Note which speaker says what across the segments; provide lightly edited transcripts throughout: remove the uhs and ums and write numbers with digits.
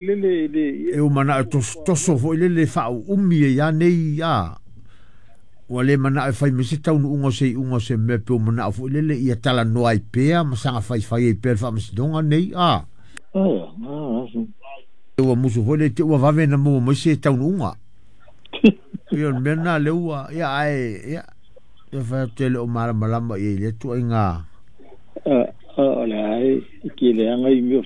Speaker 1: Lele le
Speaker 2: E ua mana'o e tosotoso fo'i lele faauumi ai a nei a ua lē mana'o e fai mai se taunu'uga o se i'uga o se mea pe ua mana'o fo'i lele ia talanoa ai pea ma saga faifai ai pea le faamasinoga nei a ua musu foi le te ua vave na maua mai se taunu'uga ia o le mea lena lea ua ia ae ia ia fai atu e le o malamalama i ai lea tuaiga.
Speaker 1: O le ai ke le anga i mea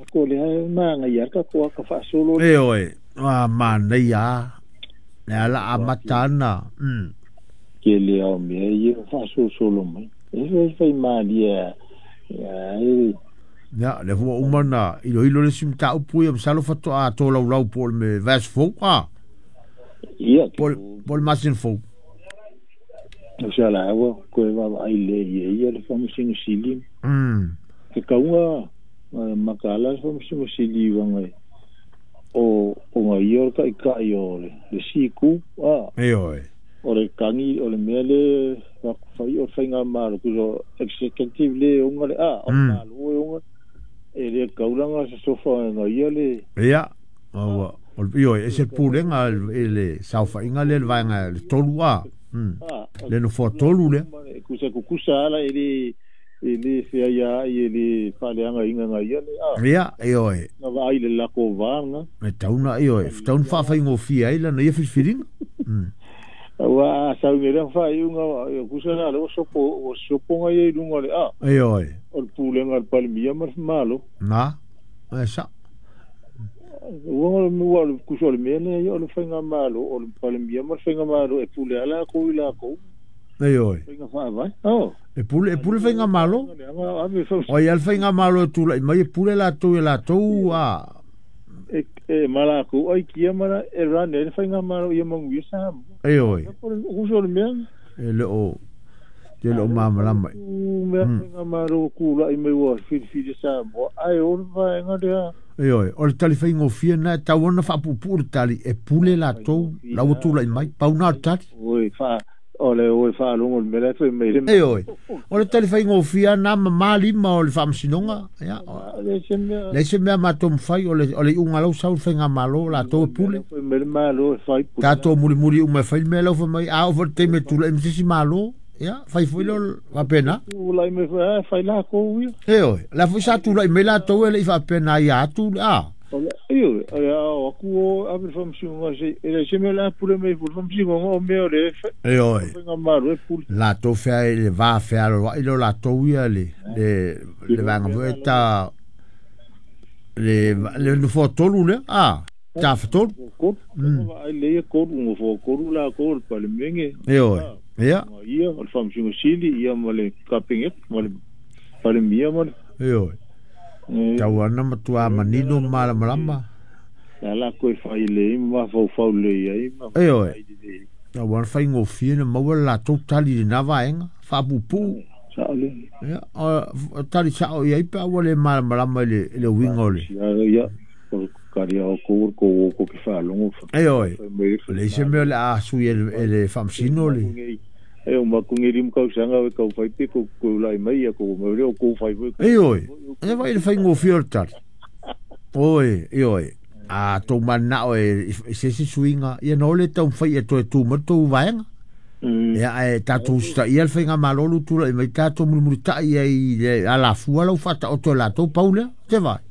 Speaker 1: ko le ai ma nga ia ka ko ka fa solo.
Speaker 2: E oe a manaia le ala amata ana.
Speaker 1: Ke le au mea ia fa solo mai e fai fai malia ia e.
Speaker 2: Ia le fua uma na iloilo le isi mataupu ia masalo faatoa tolaulau po o le me vaiaso fou a
Speaker 1: ia
Speaker 2: po o le masina fou.
Speaker 1: O se ala ua koe vaavaai lē ia ia le Faamasino Sili. E kauga makala le Faamasino Sili uaga o o ga ia o le ta'ita'i o le siku a.
Speaker 2: E oe.
Speaker 1: O le kagi o le mea le fai o le faigamalo kuso executive le oga le a o malo e oga e le kaulaga se sofa ga ia le.
Speaker 2: Ia ua o le ioe e se pulega i le saofaiga lea le vaega le tolu a le nofoa tolu lea.
Speaker 1: Kusa kukusa ala e le fea ia i le faaleagaina ga ia le a.
Speaker 2: Ia e oe.
Speaker 1: Na vaai le lako vaga.
Speaker 2: E tauna i oe tauna faafaigofie ai lana ia filifiliga.
Speaker 1: Ua sau le faaiuga kusa la le ua sopo ga ia i luga le a.
Speaker 2: E oe.
Speaker 1: O le pulega le Palemia ma le Malo.
Speaker 2: Na e sa.
Speaker 1: Ua ua kusa o le mea lea ia o le faigamalo o le Palemia ma le faigamalo e pule ala kou i lakou.
Speaker 2: E oe.
Speaker 1: Faiga faavae. Oh.
Speaker 2: E pule faigamalo. O ai le faigamalo e tula'i mai e pule latou e latou a.
Speaker 1: E malakou ai kia ma e run e le faigamalo ia manuia Samoa.
Speaker 2: E oe.
Speaker 1: Kusa o le mea.
Speaker 2: E le o te le o malamalama.
Speaker 1: Mea faigamalo kula'i mai ua filifili Samoa ai o le vaega lea.
Speaker 2: E oe, o le tali faigofie na e tau ona faapuupuu le tali e pule latou la ua tula'i mai pauna o le tali.
Speaker 1: Oi fa o le oi faalogo le mea la fai mai le.
Speaker 2: E oe, o le tali faigofie na mamā lima o le faamasinoga ia le se mea matou mafai o le iuga lau sau le faigamalo latou e pule.
Speaker 1: Fai mai le malo e fai
Speaker 2: tatou mulimuli uma e fai le mea lau fai mai a oo foi le taimi e tula'i ma se isi malo ia fai foi leo faapena.
Speaker 1: Tulai mai fai lakou ia.
Speaker 2: E oe, la foi sa tula'i mai latou e le i faapena ia atu a.
Speaker 1: Io, o aku o ave le faamasinoga se e le se mea la pule mai le faamasinoga o mea o le
Speaker 2: E oe.
Speaker 1: faigamalo e pule.
Speaker 2: Latou fea le va fealoa'i lo latou ia le vaega foi ta le nofoa tolu lea a tafatolu.
Speaker 1: Kolu ai le ia kolu nofoa kolu lakou le Palemene.
Speaker 2: E oe. Ia.
Speaker 1: Ia o le Faamasino Sili ia ma le Kapeneta ma le Palemia ma le.
Speaker 2: E oe. Tau ana matua manino malamalama.
Speaker 1: La la koe fai le ma faufau le ai ma.
Speaker 2: E oe. Tau ana faigofie na maua le latou tali i lena vaega faapuupuu.
Speaker 1: Sa'o le.
Speaker 2: Ia o tali sa'o i ai pe a ua le malamalama i le uiga o le.
Speaker 1: Ia o kari o ko ko ko ke faalogo.
Speaker 2: E oe. O le isi mea o le a sui e le faamasino le.
Speaker 1: E o maku ngiri mo kausaga e kau fai pe ko ko lai mai ia ko mo le o ko fai foi.
Speaker 2: E oe. E vai le faigofie o le tali. Oe, e oe. A tou mana'o e se isi suiga ia na o le taumafai e toe tu mai tou vaega. Ia ae tatou usitaia le faigamalo lu tula'i mai tatou mulimulita'i ai le alafua lau faataoto e latou pau lea te vai.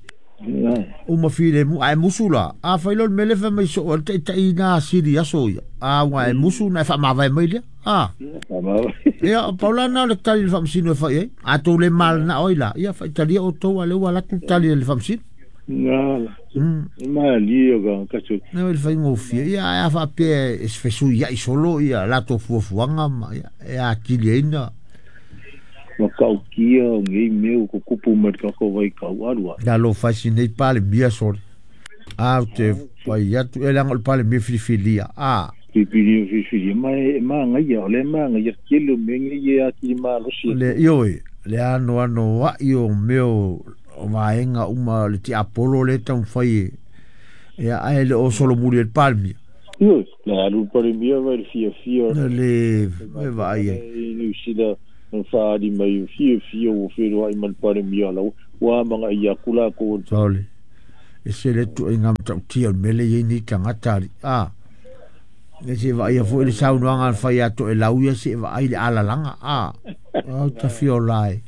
Speaker 2: Uma filemu ae musu la a fai lo le mea le fai mai soo ai le ta'ita'i na sili aso ia a ua e musu na e faamavae mai lea a. Ia pau lana o le tali le faamasino e fai ai a tou le malana'o ai la ia faitalia outou a lea ua alu atu le tali a le faamasino.
Speaker 1: Ngala. Malie o ka kaso.
Speaker 2: Ne le faigofie ia ae a faapea e fesuia'i solo ia latou fuafuaga ma ia e atili ai na.
Speaker 1: Ma kaukia o ngei mea ko kupu mai ka ko vai kau alua.
Speaker 2: Na lo fai sinei Palemia sole. A te pai atu e leaga o le Palemia filifilia a.
Speaker 1: Filifilia filifilia ma e magaia o le magaia kele o mea nei e atili malosi.
Speaker 2: Le ioe le ano ano a'i o mea o vaega uma le tiapolo le taumafai e ia ae le o solomuli e le Palemia.
Speaker 1: Ioe, le alu le Palemia vai le fiafia.
Speaker 2: Le e vaai ai.
Speaker 1: New Zealand na faali mai fiafia ua feloai ma le Palemia lau ua magaia aku lakou.
Speaker 2: Sole. E se le tuaiga matautia o le mea lea e i ai nei tagata alii. A, e se vaaia foi le saunoaga na fai ia Toelau ia se i vaai le alalaga. A, o tafiola e.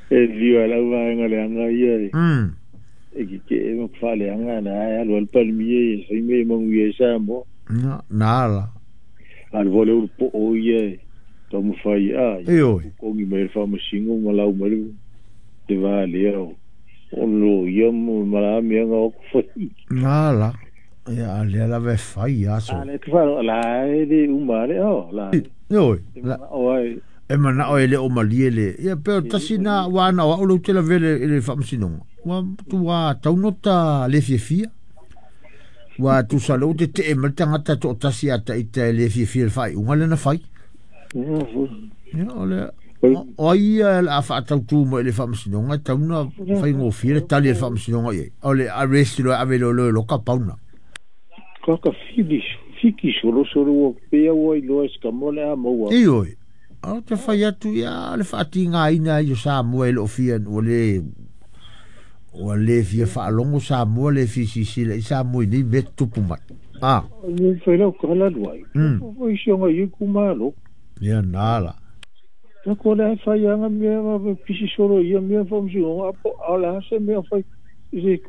Speaker 1: E lio ai lau vaega leaga ia e. E keke'e ma faaleaga na e alu ai le Palemia ia fai mea e manuia ai Samoa.
Speaker 2: Na, na ala.
Speaker 1: A le foi le ulu po'o ia e taumafai a
Speaker 2: Ioe.
Speaker 1: Totogi mai le faamasino ma lau mai le valea o o loia ma la mea na o fai.
Speaker 2: Na ala. Ia, a lea lava e fai aso.
Speaker 1: A le te wharo, la e le uma le o, la.
Speaker 2: Ioe.
Speaker 1: E mana'o ai.
Speaker 2: E mana'o e le o malie le. Ia, pe o tasi na ua ana o au lou te lavele i le faamasinoga. Ua matua taunota le fiafia. Ua tusa lou te tee mai le tagata toatasi a taita e le fiafia i le faaiuga lea na fai. Ia, o le o ai ia o le a faatautū mai i le faamasinoga e tauna faigofie le tali a le faamasinoga i ai. O le arrest loa e ave loa loka pauna.
Speaker 1: Kaka fili, fiki solo solo ua pea ua iloa e se kama o le a maua.
Speaker 2: Ioe. O te fai atu ia le faatigaina ai o Samoa e loo fia ua le fia faalogo Samoa le fia silasila i Samoa i nei mea tutupu mai. A.
Speaker 1: Ni fai lau kala luai. O isi o ngai itumalo.
Speaker 2: Ia na la.
Speaker 1: Na ko le fai anga mea ma pisi solo ia mea faamasinoga apo a o le a se mea fai i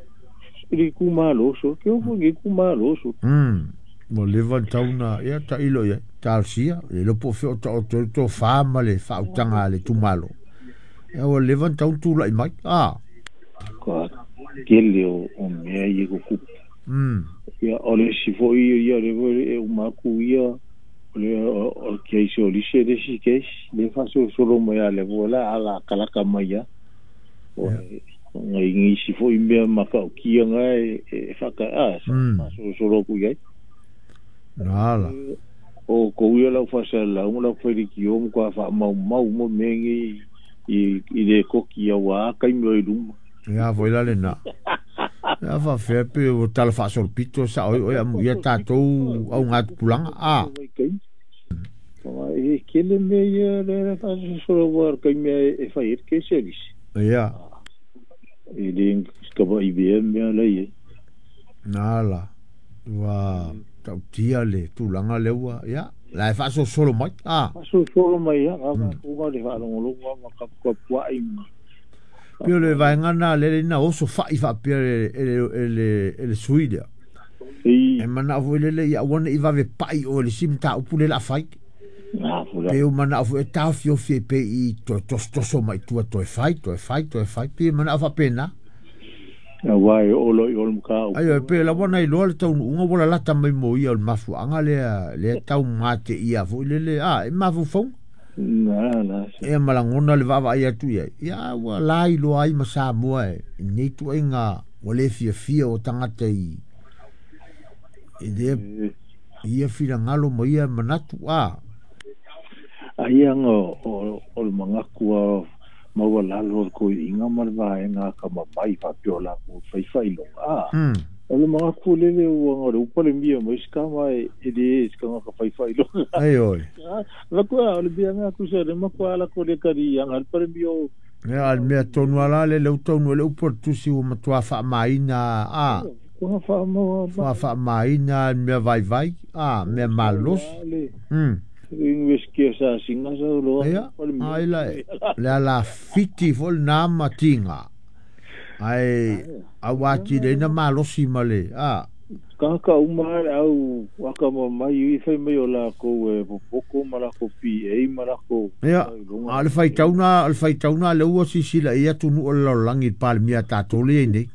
Speaker 1: le itumalo so ke o foi itumalo so.
Speaker 2: Ua leva ona tau na ia tailo i ai. Talosia, le iloa po o fea o taoto ai le tofa ma le faautaga a le itumalo. Ia ua leva ona tau na tulai mai. A.
Speaker 1: Ka tele o mea ia tutupu. Ia o le isi foi ia lea foi e uma atu ia o le o le case o Lise le isi case lea e faasolosolo mai a le foi la ala kalaka mai a. O ngai nisi foi mea matautia na e whaka a faasolosolo atu i ai.
Speaker 2: Na ala.
Speaker 1: O kou ia lau faasalasalauga lau failikio ma toa faamaumau uma mea nei i le koki auā taimi o i luma.
Speaker 2: Ia foi la lena. Ia faafefea pe ua tala faasolopito sao ai oe amuia tatou augatupulaga a.
Speaker 1: E tele mea ia le faasolosolo aua o le taimi e fai ai le kesi a lisi.
Speaker 2: Ia.
Speaker 1: E le kavaivea mea la i ai.
Speaker 2: Na ala. Ua tautia le tulaga lea ua ia la e faasolosolo mai a.
Speaker 1: Faasolosolo mai ia a tatou le faalogologo ma tapuai ma.
Speaker 2: Pei o le vaega lena lea na oso fai faapea e le sui lea. E manao foi lele ia aua ne i vave pai oe i le isi mataupu lea o le a fai. Pe o manao foi e taofiofi ai pea i toe tosotoso mai tua toe fai, toe fai, toe fai. Pei e manao faapena.
Speaker 1: Aua e oo loa i o le mataupu.
Speaker 2: Aioe, pei lava ona iloa le taunuuga ua lalata mai mo ia o le mafuaaga lea, lea tau mateia foi lele, a, e mafaufauga.
Speaker 1: Na, na.
Speaker 2: Ia ma lagona le vaavaai atu i ai, ia ua la iloa ai ma Samoa e nei tuaiga ua le fiafia o tagata i lea ia finagalo ma ia manatu, a.
Speaker 1: Aia aga o le manatu a maualalo o le toeaiina ma le vaega atamamai faapea o latou fai faailoga, a. O le manatu lele ua na o le upalemia mai se tama e le se tagata fai faailoga.
Speaker 2: Ioe.
Speaker 1: Matua o le mea na tusa le matua ala ko le kari anga le palemia o.
Speaker 2: Ia, a le mea tonu lava la lele ua taunuu ai le upu a le tusi ua matua faamaina a.
Speaker 1: Ua faamaua.
Speaker 2: Ua faamaina le mea vaivai, a, mea malosi.
Speaker 1: University o Sasina sa loa.
Speaker 2: Ia, ai la, le alafiti foi lena ma tiga. Ae aua atili ai na malosi ma le, a.
Speaker 1: Tagata uma le au atamamai i fai mai o lakou e popoto ma lakou PA ma lakou.
Speaker 2: Ia, a o le faitauga, o le faitauga lea ua silasila i ai atunuu o le lalolagi i le Palemia a tatou lea e i ai nei.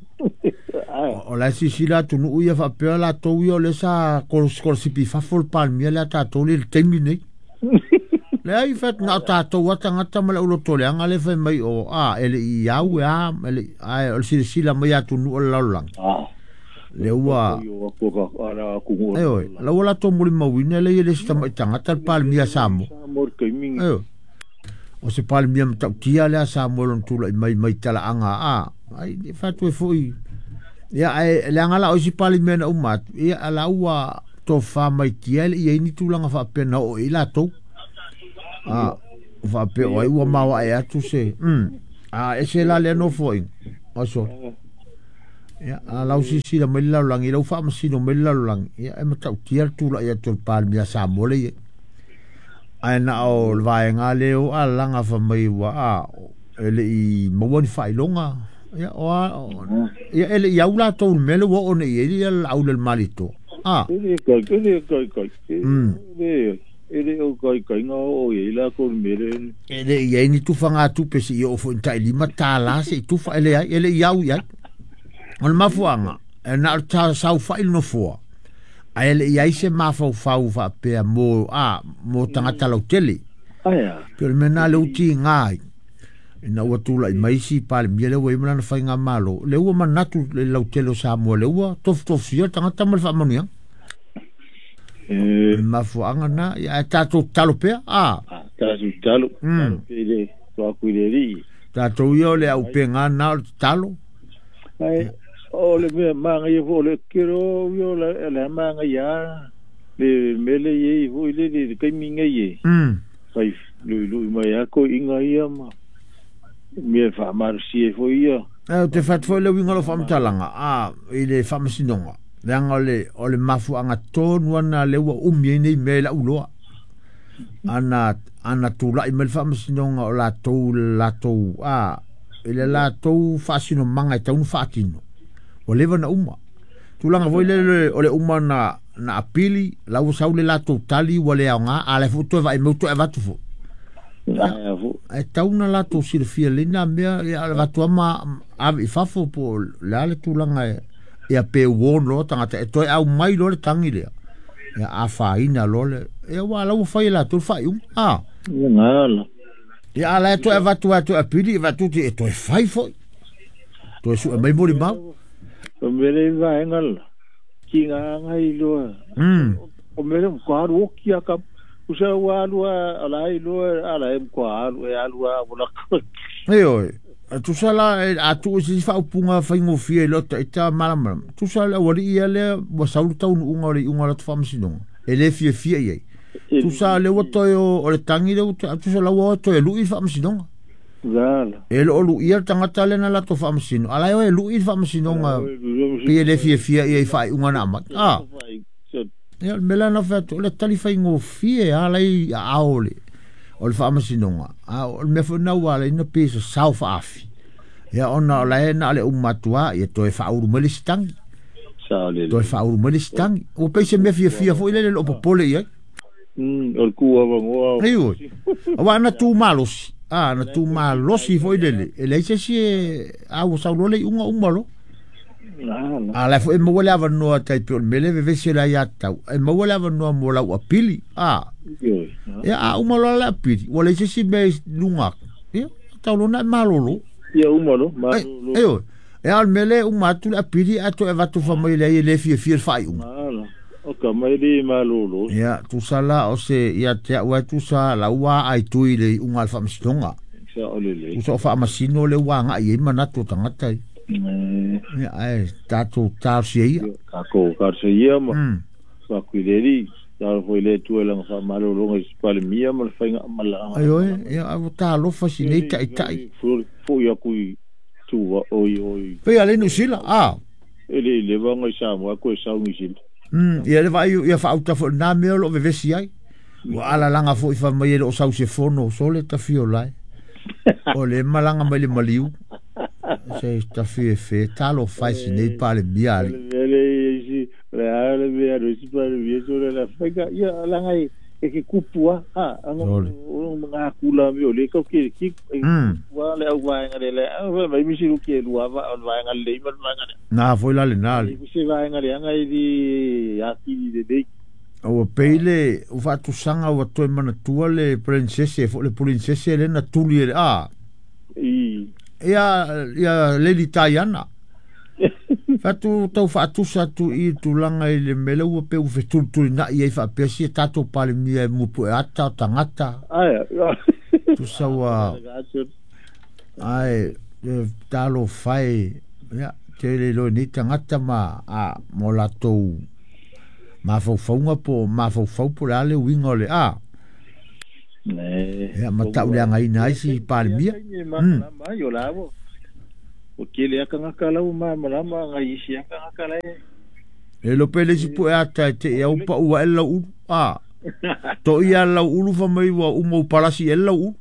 Speaker 2: O la e silasila atunuu ia faapea latou ia o lea sa sikolasipi i fafo le Palemia lea a tatou lea i le taimi lenei. Leai, in fact, na o tatou lava tagata ma le aulotoleaga lea e fai mai o, a, e le i au e a, e le i, ae o le silasila mai a atunuu o le lalolagi. Lea ua, ioe, la ua latou molimauina lea e le isi tamai tagata le Palemia a Samoa. Ioe. O se Palemia matautia lea a Samoa lona tulai mai mai talaaga a, ai, e fai atu ai foi, ia, ae leaga la o isi Palemia na uma atu, ia, la ua tofa mai tia e le i ai ni tulaga faapea na oo i ai latou. A, faapea o ai ua maoae atu se, a ese la lea nofoaiga. Aso. Ia a lau sisila mai le lalolagi lau faamasino mai le lalolagi ia e matautia le tula'i atu o le Palemia Samoa le iai ae na o le vaega lea o alalaga famai ua a e le'i maua ni faailoga ia o a ia e le'i au latou i le mea le ua oo nei i ai ia le laau le malito a
Speaker 1: E le kai, e le kai kai. E e le o kai kai ngā o i la ko mere.
Speaker 2: E le'i i ai ni tufagatupe se'i oo fo'i ta'ilima tālā se'i tufa e leai e le'i au i ai o le mafuaga e na o le saufa'i le nofoa ae le'i ai se mafaufau faapea mo a mo tagata lautele
Speaker 1: Aia.
Speaker 2: pe o le mea na le utigā ai ina ua tula'i mai isi Palemia lea ua i ai ma lana faigamālō le ua manatu le lautele o Samoa le ua tofutofia le tagata ma le faamanuiaga
Speaker 1: E
Speaker 2: le mafuaaga na ia ae tatou tatalo pea a
Speaker 1: tatou talo. Talo pe le to aku i le ri.
Speaker 2: Tatou ia o le aupegā na o le tatalo
Speaker 1: Ai o le mea manga ia fo le kero yo la la manga ia le mele ye fo le le kai minga ye. Kai lui lui mai a ko inga ia ma mea faamalosi ai foi ia.
Speaker 2: E ou te fatu foi le uiga o lou faamatalaga a i le faamasinoga leaga o le mafuaaga tonu ana le ua umi ai nei mea i la'u iloa ana ana tula'i mai le faamasinoga o latou latou a i le latou faasinomaga e tau ona faatino ua leva na uma tulaga foi lele o le uma na na apili la ua sau le latou tali ua le aogā a le foi toe vaai mai ua toe avatu foi
Speaker 1: Aia fo.
Speaker 2: Ae tau na latou silafia lelei na mea ia o le avatu lava ma ave i fafo po o le a le tulaga e ia pe warn loa tagata e toe aumai loa le tagi lea ia afaina loa le ia aua o la ua fai e latou le faaiuga a
Speaker 1: Ia gala.
Speaker 2: Ia a la e toe avatu lava e toe apili avatu e toe fai foi toe sue mai molimau.
Speaker 1: O mea le vaega la ki ngā ngai loa. O mea le ko alu oki a ka usa ua alu a la i loa ala e ko alu e alu a wala ko.
Speaker 2: Ioe, tusa la a tuu i se isi faaupuga faigofie i lota ita malamalama. Tusa le aualii ia lea ua sau le taunuuga o le iuga o le atu faamasinoga, e le fiafia i ai. Tusa lea ua toe o le tagi lea ua toe, tusa la ua o e toe lui le faamasinoga. E le o luia le tagata lea na latou faamasino, a la e o e lui le faamasinoga pei e le fiafia i ai i faaiuga na aumai. A. Ia, o le mea la na fai atu, o le tali faigofie lava la i aao o le o le faamasinoga, a o le mea foi lena ua ala ai ona pei e sasao faaafi. Ia ona o la e na o le uma atu lava, ia toe faaulu mai le isi tagi. Toe faaulu mai le isi tagi. Ua pei se mea fiafia foi lele e le o popole i ai.
Speaker 1: O le ku avanoa.
Speaker 2: Ioe. Aua ana tu malosi, a, ana tu malosi foi lele, e leai se isi e, a ua sau loa le iuga uma loa. A la foi e maua le avanoa tai pei o le mea lea e vevesi ai le aiatatau, e maua le avanoa mo lau apili, a. Ia, a uma loa le apili, ua leai se isi mea i luga atu, ia, tau loa ona e malolo.
Speaker 1: Ia uma loa, malolo.
Speaker 2: Ioe. Ia, a o le mea lea e uma atu le apili ae toe avatu fai mai leai e le fiafia i le faaiuga.
Speaker 1: O ka mai le malolo.
Speaker 2: Ia, tusa la o se, ia te au lava e tusa la ua aai tui i le iuga a le faamasinoga. Tusa o faamasino lea ua agai i ai manatu o tagata ia. Ia, ae tatou talosia ia.
Speaker 1: Tatou talosia ia ma faatu i le Alii. Talofa i le Atua i lana faamalologa i se Palemia ma le faigamalaga.
Speaker 2: Ioe, ia, ae ua talofa si nei taitai.
Speaker 1: Foi atu i tua, oi, oi.
Speaker 2: Pei a le Niu Sila, a.
Speaker 1: E le i leva ona i Samoa koe sau Niu Sila.
Speaker 2: Ia le vaai ia faauta foi lena mea o lo o vevesi ai. Ua alalaga foi fai mai e le o sau se fono sole tafi o lae. O le malaga mai le maliu. Se tafi e fe talofa e si nei Palemia alii.
Speaker 1: O le mea le isi, o le a le mea a isi Palemia sole la faiga ia langa e e ke kupu a a anga o nga kula mi o le kau ke ki e kupu a le au vaenga le le a mai misi lu ke lua va o vaenga le ma vaenga le
Speaker 2: Na foi la le na le.
Speaker 1: Se vaenga le anga i di a ki le le.
Speaker 2: Ua pei le ua faatusaga ua toe manatua le princese foi le princese lea na tuli e le a.
Speaker 1: I.
Speaker 2: Ia ia Lady Diana. Fatu tau faatusa atu i tulaga i le mea lea ua pei ua fetulitulina'i ai faapea sia tatou Palemia e muapu'e ata o tagata.
Speaker 1: Aia.
Speaker 2: Tusa ua ae talofa e ia tele loa i nei tagata ma a mo latou mafaufauga po o mafaufau po o le a le uiga o le a. Ia ma tauleagaina ai si Palemia.
Speaker 1: Ua tele lava tagata la ua malamalama nai isi lava tagata la e.
Speaker 2: E iloa pe le isi pue ata e te i au pau ae le lau ulu. A. To ia lau ulu fa mai ua uma u palasi e lau ulu.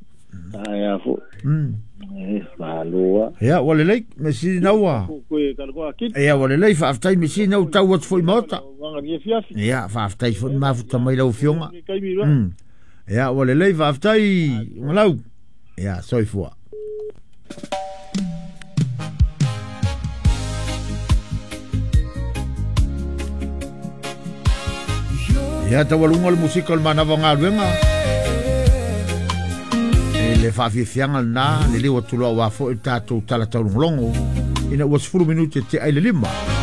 Speaker 1: Ae a foi. E, malo a.
Speaker 2: Ia, ua lelei, me sili na ua.
Speaker 1: Koe kala koe akili.
Speaker 2: Ia, ua lelei, faafetai me sili na ua tau atu foi i maota.
Speaker 1: Wanga ni fiafi.
Speaker 2: Ia, faafetai foi ni mafuta mai lau afioga.
Speaker 1: Kaimi loa.
Speaker 2: Ia, ua lelei, faafetai, Ugalau. Ia, soifua. Ia, taualuga o le musika o le manava o galuega. E le faafiafiaga lenā, liliu atu loa aua foi le tatou tala taulogologo ina ua 10 minute te ai le 5.